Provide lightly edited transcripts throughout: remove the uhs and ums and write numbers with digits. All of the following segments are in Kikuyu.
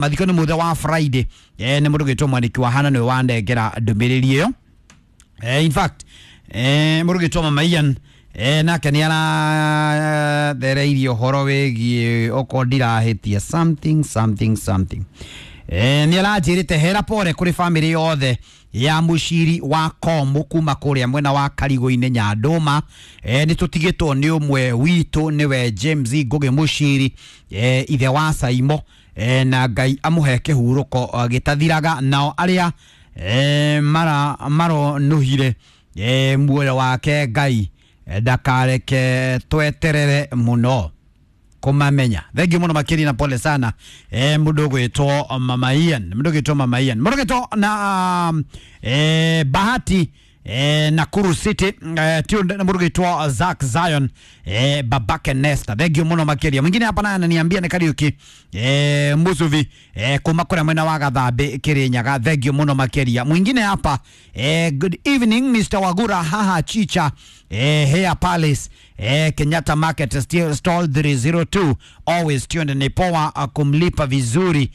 Mathiko nĩ mũthenya wa Friday. Nĩ mũndũ gwĩtwo Mwaniki wa Hana nĩwe wanengera ndũmĩrĩri ĩyo. In fact, mũndũ gwĩtwo Mama Ian nake nĩ arathereirie ũhoro wĩgiĩ okorwo ndirahĩtia something something something. Nĩ aranjĩrĩte hera pole kũrĩ famĩlĩ yothe ya mũciri wa Komu kuma kũrĩa mwena wa Karigũ-inĩ Nyandũma. Nĩ tũtigĩtwo nĩ ũmwe witũ nĩwe James Ngũgĩ Mũciri, ithe wa Saimo, na Ngai amũhe kĩhurũko gĩtathiraga. Nao arĩa maronuhire muoyo wake Ngai ndakareke tweterere mũno kumamenya. Thengiũ mũno makĩria na pole sana, mũndũ ũgwĩtwo Mama Ian, mũndũ ũgwĩtwo Mama Ian, mũndũ ũgwĩtwo na Bahati Nakuru City, tuned na mũndũ ũgwĩtwo Zack Zion, babake Nesta. Thengiũ mũno makĩria. Mwingine hapa naye ananiambia nĩ Kariuki Musuvi, kuma kũrĩa mwena wa Gathambĩ Kirinyaga. Thengiũ mũno makĩria. Mwingine hapa, good evening Mr. Wagura, haha chicha, Hair Palace, Kenyatta Market stall 302, always tuned. Ni poa kumlipa vizuri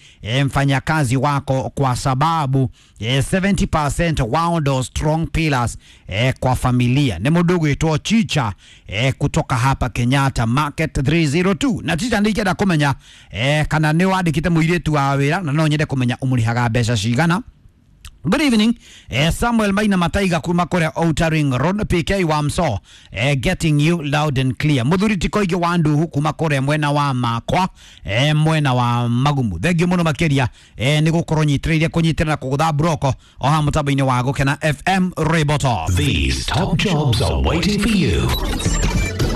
mfanyakazi wako kwa sababu 70% wao ndo strong pillars kwa familia. Ni mũndũ ũgwĩtwo Chicha kutoka hapa Kenyatta Market 302. Na Chicha ndingĩenda kũmenya kana nĩ wandĩkĩte mũirĩtu wa wĩra, na no nyende kũmenya ũmũrĩhaga mbeca cigana. Good evening. Samuel Maina Mataiga kuma kuria Outer Ring Road, PK wa Mso, getting you loud and clear. Muthuri ti koigi wa nduhu kuma kuria mwena wa Makwa, mwena wa Magumu. Thengiũ mũno makĩria, nĩ gũkorwo nyitĩrĩire kũnyitĩrĩra na kũgũtha broko o haha mũtambo-inĩ wa Gũkena FM Ribotop. These top jobs are waiting for you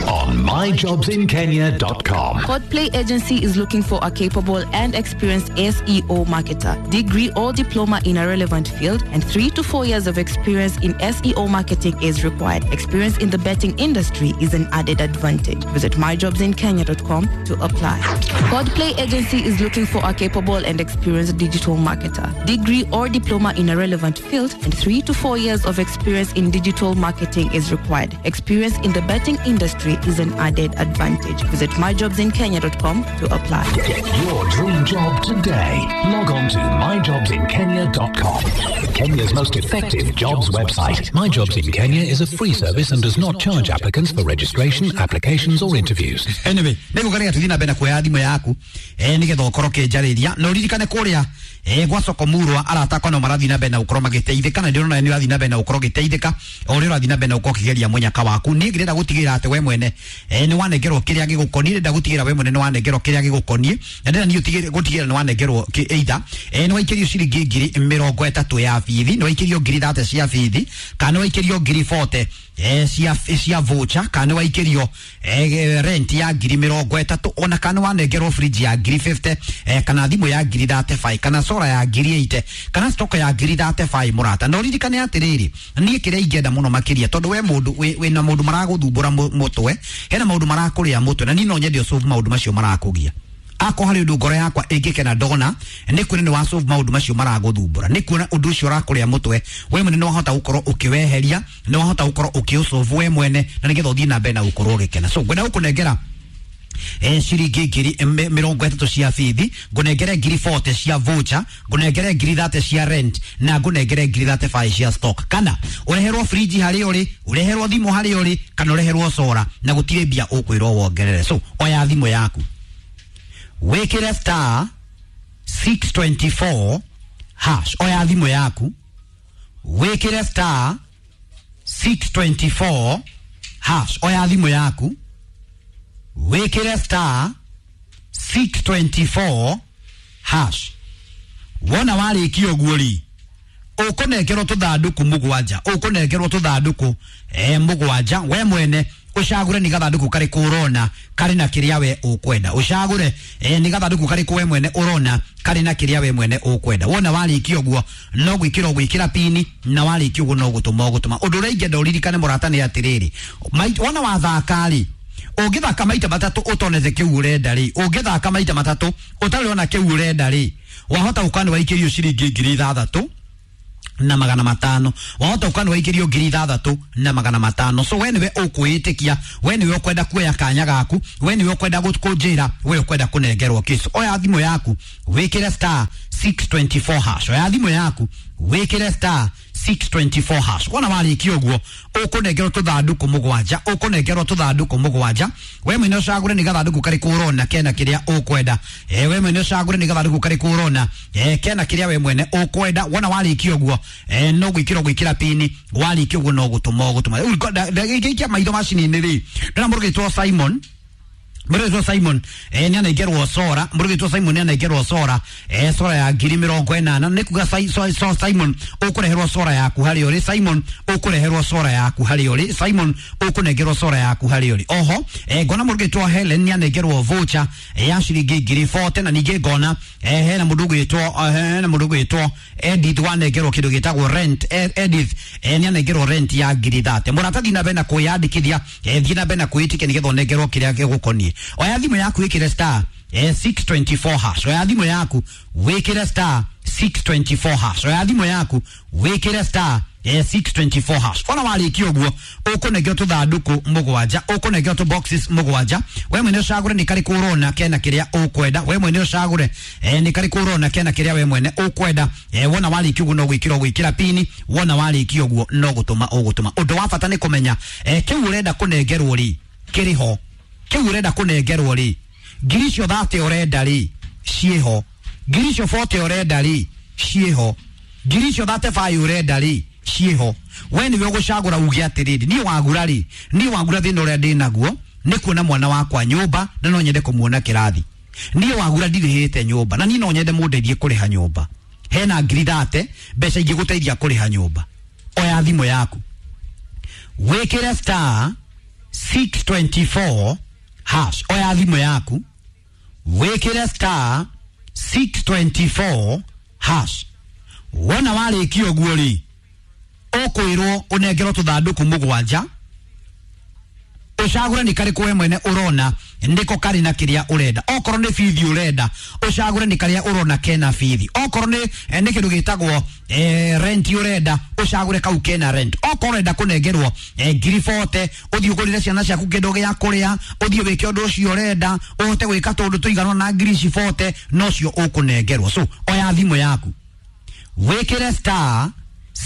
on myjobsinkenya.com. Codplay Agency is looking for a capable and experienced SEO marketer, degree or diploma in a relevant field, and 3 to 4 years of experience in SEO marketing is required. Experience in the betting industry is an added advantage. Visit myjobsinkenya.com to apply. Codplay Agency is looking for a capable and experienced digital marketer, degree or diploma in a relevant field, and 3 to 4 years of experience in digital marketing is required. Experience in the betting industry is an added advantage. Visit myjobsinkenya.com to apply. Get your dream job today. Log on to myjobsinkenya.com. Kenya's most effective jobs website. My Jobs in Kenya is a free service and does not charge applicants for registration, applications, or interviews. Anyway, nĩgũkarĩga tũthiĩ na mbere na kuoya thimũ yaku, nĩgetha ũkorwo ũkĩnjarĩria na ũririkane kũrĩa gwa soko murwa arata akwa no marathiĩ na mbere na gũkorwo magĩteithĩka, na ndĩrona nĩ ũrathiĩ na mbere na gũkorwo ũgĩteithĩka o ũrĩa ũrathiĩ na mbere na gũkorwo ũkĩgeria mũnyaka waku. Niĩ ngĩrenda gũtigĩrĩra atĩ we mwene nĩ wanengerwo kĩrĩa gĩgũkoniĩ, ndĩrenda gũtigĩrĩra we mwene nĩ wanengerwo kĩrĩa gĩgũkoniĩ, na ndĩrenda niĩ gũtigĩrĩra nĩ wanengerwo either nĩ waikĩrio ciringi 30,000 ya bithi, nĩ waikĩrio 30,000 cia bithi, kana nĩ waikĩrio 40,000 cia voucher, kana nĩ waikĩrio rent ya 30,000, ona kana wanengerwo fridge ya 50,000, kana thimũ ya 35,000, kana solar ya 80,000, kana stock ya 35,000 mũrata. Na ũririkane atĩrĩrĩ, niĩ kĩrĩa ingĩenda mũno makĩria, tondũ we mũndũ wĩna maũndũ maragũthumbũra mũtwe, hena maũndũ marakũrĩa mũtwe, na niĩ no nyende ũsolve maũndũ macio marakũgia. Ako harĩ ũndũ ngoro yakwa ĩngĩkena ndona nĩ kuona nĩ wasolve maũndũ macio maragũthumbũra, nĩ kuona ũndũ ũcio ũrakũrĩa mũtwe we mwene nĩ wahota gũkorwo ũkĩweheria, nĩ wahota gũkorwo ũkĩũsolve we mwene, na nĩgetha ũthiĩ na mbere na gũkorwo ũgĩkena. So ngwenda gũkũnengera ciringi 30,000 cia bithi, ngũnengere 40,000 cia voucher, ngũnengere 30,000 cia rent, na ngũnengere 35,000 cia stock, kana ũreherwo fridge harĩa ũrĩ, ũreherwo thimũ harĩa ũrĩ, kana ũreherwo solar, na gũtirĩ mbia ũkwĩrwo wongerere. So oya thimũ yaku, wĩkĩre star 624 hash. Oya thimũ yaku, wĩkĩre star 624 hash. Oya thimũ yaku, wĩkĩre star 624 hash. Wona warĩkia ũguo rĩ, ũkũnengerwo tũthandũkũ mũgwanja, ũkũnengerwo tũthandũkũ mũgwanja. We mwene ũcagũre nĩ gathandũkũ karĩkũ ũrona karĩ na kĩrĩa we ũkwenda, ũcagũre nĩ gathandũkũ karĩkũ we mwene ũrona karĩ na kĩrĩa we mwene ũkwenda. Wona warĩkia ũguo no gwĩkĩra ũgwĩkĩra pini, na warĩkia ũguo no gũtũma ũgũtũma. Ũndũ ũrĩa ingĩenda ũririkane mũrata nĩ atĩrĩrĩ, wona wathaka rĩ, ũngĩthaka maita matatũ ũtonete kĩu ũrenda rĩ, ũngĩthaka maita matatũ ũtarĩ ona kĩu ũrenda rĩ, wahota gũkorwo nĩ waikĩrio ciringi 6,000, na magana matano. Wahota gũkorwo nĩ waikĩrio 6,500. So we nĩwe ũkwĩĩtĩkia, we nĩwe ũkwenda kuoya kanya gaku, we nĩwe ũkwenda kũnjĩra, we ũkwenda kũnengerwo kĩ. So oya thimũ yaku wĩkĩre star 624 hash. Oya thimũ yaku wĩkĩre star 624 hash. Wona warĩkia ũguo ũkũnengerwo tũthandũkũ mũgwanja, ũkũnengerwo tũthandũkũ mũgwanja. We mwene ũcagũre nĩ gathandũkũ karĩkũ ũrona kena kĩrĩa ũkwenda. We mwene ũcagũre nĩ gathandũkũ karĩkũ ũrona kena kĩrĩa we mwene ũkwenda. Wona warĩkia ũguo no gwĩkĩra gwĩkĩra pini, warĩkia ũguo no gũtũma ũgũtũma. Rĩu ndagĩikia maitho macini-inĩ rĩ, ndĩrona mũndũ ũgĩtwo Simon. Mũrũgĩtwo Simon nĩ anengerwo sora, mũrũgĩtwo Simon nĩ anengerwo sora sora ya 80,000. Nĩ kuga Simon ũkũreherwo sora yaku harĩa ũrĩ. Simon ũkũreherwo sora yaku harĩa ũrĩ. Simon ũkũnengerwo sora yaku harĩa ũrĩ. Oho ngona mũrũgĩtwo Helen nĩ anengerwo voucher ya ciringi 40,000. Na ningĩ ngona hena mũndũ ũgwĩtwo, hena mũndũ ũgwĩtwo Edith wanengerwo kĩndũ gĩtagwo rent. Edith nĩ anengerwo rent ya 30,000. Mũrata thiĩ na mbere na kwĩyandĩkithia, thiĩ na mbere na kwĩĩtĩkia nĩgetha ũnengerwo kĩrĩa gĩgũkoniĩ. Oya thimũ yaku wĩkĩre star 624 hash. Oya thimũ yaku wĩkĩre star 624 hash. Oya thimũ yaku wĩkĩre star 624 hash. Ona warĩkia ũguo ũkũnengerwo tũthandũkũ mũgwanja, ũkũnengerwo tũ boxes mũgwanja. We mwene ũcagũre nĩ karĩkũ ũrona kena kĩrĩa ũkwenda. We mwene ũcagũre nĩ karĩkũ ũrona kena kĩrĩa we mwene ũkwenda. Wona warĩkia ũguo no gwĩkĩra ũgwĩkĩra pini, wona warĩkia ũguo no gũtũma ũgũtũma. Ũndũ wa bata nĩ kũmenya kĩu ũrenda kũnengerwo rĩ kĩrĩ ho, kĩu ũrenda kũnengerwo rĩ 30,000 ũrenda rĩ ciĩho, 40,000 ũrenda rĩ ciĩho, 35,000 ũrenda rĩ ciĩho. We nĩwe ũgũcagũra uge atĩrĩrĩ, niĩ wagura rĩ, niĩ wagura thĩna ũrĩa ndĩ naguo nĩ kuona mwana wakwa nyũmba na no nyende kũmuona kĩrathi. Niĩ wagura ndirĩhĩte nyũmba na niĩ no nyende mũndeithie kũrĩha nyũmba. Hena 30,000 mbeca ingĩgũteithia kũrĩha nyũmba. Oya thimũ yaku wĩkĩre star 624 hash. Oya thimũ yaku wĩkĩre star 624 hash. Wona warĩkia ũguo rĩ ũkwĩrwo ũnengerwo tũthandũkũ mũgwanja, ũcagũre nĩ karĩkũ we mwene ũrona nĩko karĩ na kĩrĩa ũrenda. Okorwo nĩ bithi ũrenda ũcagũre nĩ karĩa ũrona kena bithi. Okorwo nĩ kĩndũ gĩtagwo rent ũrenda ũcagũre kau kena rent. Okorwo ũrenda kũnengerwo 40,000 ũthiĩ ũgũrĩre ciana ciaku kĩndũ gĩa kũrĩa, ũthiĩ wĩke ũndũ ũcio ũrenda, ũhote gwĩka tũũndũ tũigana na 40,000 nocio ũkũnengerwo. So oya thimũ yaku wĩkĩre star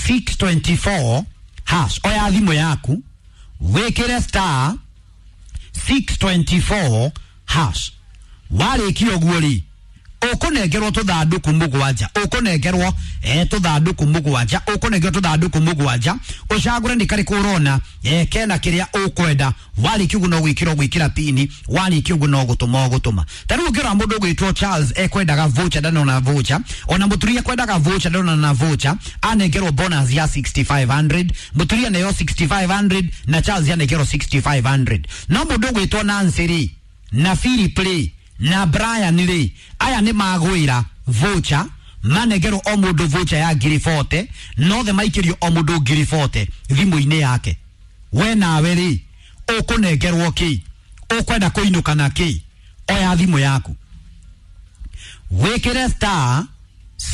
624 hash. Oya thimũ yaku wĩkĩre star 624 hash. Warĩkia ũguo rĩ ũkũnengerwo tũthandũkũ mũgwanja, ũkũnengerwo tũthandũkũ mũgwanja, ũkũnengerwo tũthandũkũ mũgwanja. Ũcagũre nĩ karĩkũ ũrona kena kĩrĩa ũkwenda. Warĩkia ũguo no gwĩkĩra ũgwĩkĩra pini, warĩkia ũguo no gũtũma ũgũtũma. Ta rĩu ũngĩrora mũndũ ũgwĩtwo Charles ekwendaga voucher ndanona voucher, ona mũtumia ekwendaga voucher ndanona na voucher, anengerwo bonus ya 6,500, mũtumia neyo 6,500 na Charles anengerwo 6,500. No mũndũ ũgwĩtwo Nancy rĩ na Philip rĩ na Brian rĩ, aya nĩ magwĩra voucher, manengerwo o mũndũ voucher ya 40,000, nothe maikĩrio o mũndũ 40,000 thimũ-inĩ yake. We nawe rĩ ũkũnengerwo kĩ, ũkwenda kũinũka na kĩ? Oya thimũ yaku wĩkĩre star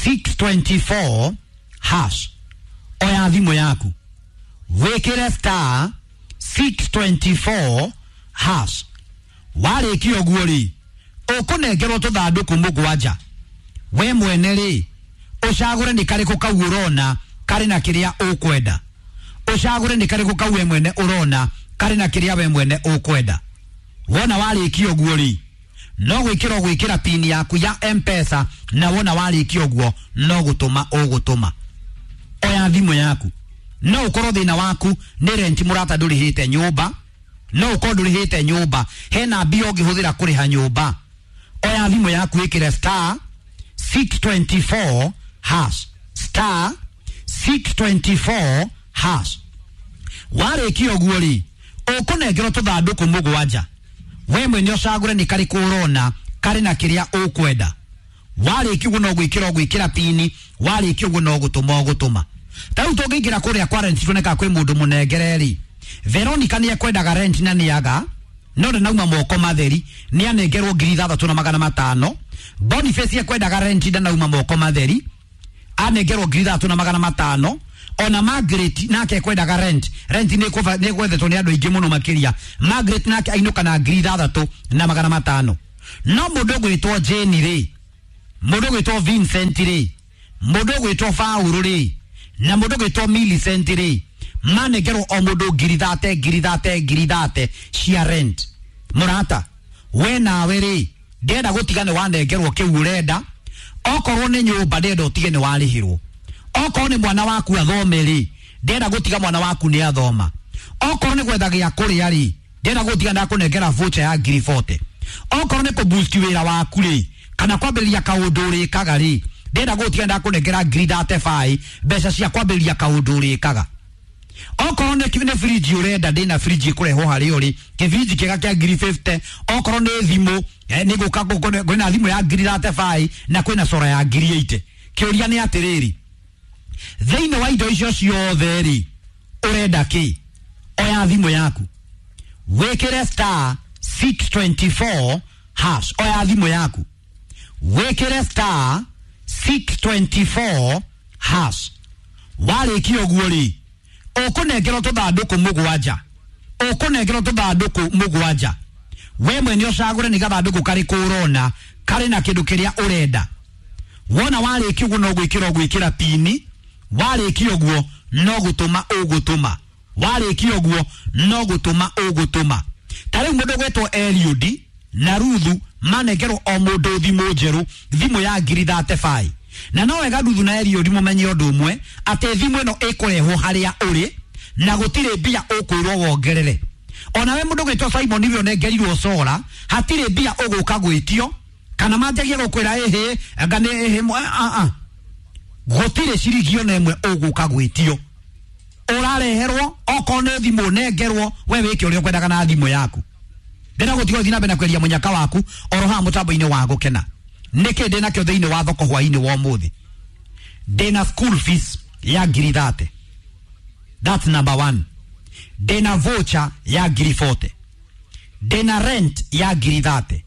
624 hash. Oya thimũ yaku wĩkĩre star 624 hash. Warĩkia ũguo rĩ ũkũnengerwo tũthandũkũ mũgwanja. We mwene rĩ ũcagũre nĩ karĩkũ kau ũrona karĩ na kĩrĩa ũkwenda. Ũcagũre nĩ karĩkũ kau we mwene ũrona karĩ na kĩrĩa we mwene ũkwenda. Wona warĩkia ũguo rĩ no gwĩkĩra ũgwĩkĩra pini yaku ya M-Pesa, na wona warĩkia ũguo no gũtũma ũgũtũma. Oya thimũ yaku. No ũkorwo thĩna waku nĩ rent mũrata ndũrĩhĩte nyũmba, no ũkorwo ndũrĩhĩte nyũmba, hena mbia ũngĩhũthĩra kũrĩha nyũmba. Oya thimũ yaku ĩkĩre star 624 hash, star 624 hash. Warĩkia ũguo rĩ ũkũnengerwo tũthandũkũ mũgwanja. We mwene ũcagũre nĩ karĩkũ ũrona karĩ na kĩrĩa ũkwenda. Warĩkia ũguo no gwĩkĩra ũgwĩkĩra pini, warĩkia ũguo no gũtũma ũgũtũma. Ta rĩu tũngĩingĩra kũrĩa kwa rent tuone kana kwĩ mũndũ mũnengere rĩ, Veronica nĩ ekwendaga rent na nĩaga no ndanauma moko matheri, nĩ anengerwo 6,500. Boniface ekwendaga rent ndanauma moko matheri, Anengerwo 3,500. Ona Margaret nake kwendaga rent nĩ gwethetwo nĩ andũ aingĩ mũno makĩria. Margaret nake ainũka na 6,500. No mũndũ ũgwĩtwo Jane rĩ, mũndũ ũgwĩtwo Vincent rĩ, mũndũ ũgwĩtwo Paul rĩ, na mũndũ ũgwĩtwo Millicent rĩ, manengerwo o mũndũ 30,000 30,000 30,000 cia rent. Mũrata, we nawe rĩ, ndĩrenda gũtiga nĩ wanengerwo kĩu ũrenda. Okorwo nĩ nyũmba ndĩrenda ũtige nĩ warĩhĩrwo. Okorwo nĩ mwana waku athome rĩ, ndĩrenda gũtiga mwana waku nĩ athoma. Okorwo nĩ gwetha gĩa kũrĩa rĩ, ndĩrenda gũtiga ndakũnengera voucher ya 40,000. Okorwo nĩ kũboost wĩra waku rĩ, kana kwambĩrĩria kaũndũ ũrĩkaga rĩ, ndĩrenda gũtiga ndakũnengera 35,000 mbeca cia kwambĩrĩria kaũndũ ũrĩkaga. Okorwo nĩ fridge ũrenda, ndĩna fridge ĩkũrehwo harĩa ũrĩ, kĩbiriji kĩega kĩa 50,000. Okorwo nĩ thimũ, nĩ gũka kwĩna thimũ ya 35,000 na kwĩna sora ya 80,000. Kĩũria nĩ atĩrĩrĩ, thĩinĩ wa indo icio ciothe rĩ, ũrenda kĩ? Oya thimũ yaku wĩkĩre star 624 hash. Oya thimũ yaku wĩkĩre star 624 hash. Warĩkia ũguo rĩ, ũkũnengerwo tũthandũkũ mũgwanja. Ũkũnengerwo tũthandũkũ mũgwanja. We mwene ũcagũre nĩ gathandũkũ karĩkũ ũrona karĩ na kĩndũ kĩrĩa ũrenda. Wona warĩkia ũguo no gwĩkĩra ũgwĩkĩra pini. Warĩkia ũguo no gũtũma ũgũtũma. Warĩkia ũguo no gũtũma ũgũtũma. Ta rĩu mũndũ ũgwĩtwo Eliud na Ruthu manengerwo o mũndũ thimũ njerũ, thimũ ya 35,000. Na no wega Ruthu na Eliud mũmenye ũndũ ũmwe, atĩ thimũ ĩno ĩkũrehwo harĩa ũrĩ na gũtirĩ mbia ũkwĩrwo wongerere. Ona we mũndũ ũgwĩtwo Simon ũrĩa ũnengerirwo sora, hatirĩ mbia ũgũka gwĩtio kana manjagie gũkwĩra ĩhĩ anga nĩ ĩhĩ gũtirĩ ciringi ona ĩmwe ũgũka gwĩtio. Ũrareherwo okorwo nĩ thimũ ũnengerwo, we wĩke ũrĩa ũkwendaga na thimũ yaku. Ndĩrenda gũtiga ũthiĩ na mbere na kweria mũnyaka waku oro haha mũtambo-inĩ wa gũkena. Nĩkĩ ndĩ nakĩo thĩinĩ wa thoko hwaĩ-inĩ wa ũmũthĩ? Ndĩna school fees ya 30,000. That's number 1. Ndĩna voucher ya 40,000. Ndĩna rent ya 30,000.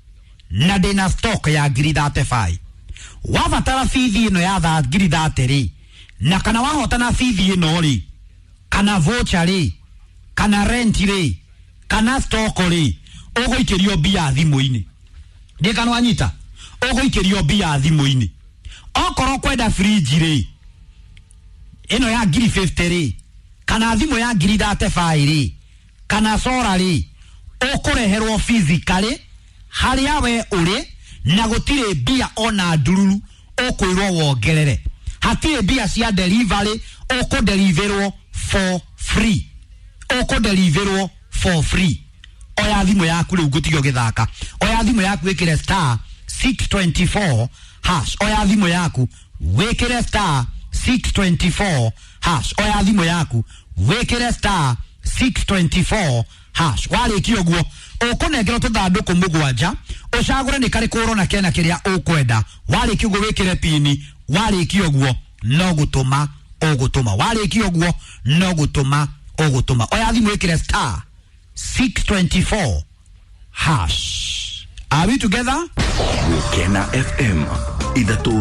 Na ndĩna stock ya 35,000. Wabatara bithi ĩno ya 30,000 rĩ, na kana wahotana bithi ĩno rĩ, kana voucher rĩ, kana rent rĩ, kana stock rĩ, ũgũikĩrio mbia thimũ-inĩ. Ndĩ kana wanyita? Ũgũikĩrio mbia thimũ-inĩ. Okorwo kwenda fridge rĩ, ĩno ya 50,000 rĩ, kana thimũ ya 35,000 rĩ, kana sora rĩ, ũkũreherwo physically harĩa we ũrĩ, na gũtirĩ mbia ona ndururu ũkwĩrwo wongerere. Hatirĩ mbia cia delivery, ũkũdeliverwo for free. Ũkũdeliverwo for free. Oya thimũ yaku rĩu ngũtige ũgĩthaka. Oya thimũ yaku wĩkĩre star 624 hash. Oya thimũ yaku wĩkĩre star 624 hash. Oya thimũ yaku wĩkĩre star 624 hash. Warĩkia ũguo ũkũnengerwo tũthandũkũ mũgwanja, ũcagũre nĩ karĩkũ ũrona kena kĩrĩa ũkwenda. Warĩkia ũguo wĩkĩre pini. Warĩkia ũguo no gũtũma ũgũtũma. Warĩkia ũguo no gũtũma ũgũtũma. Oya thimũ wĩkĩre star 624 hash. Are we together? Gũkena FM ithatũ.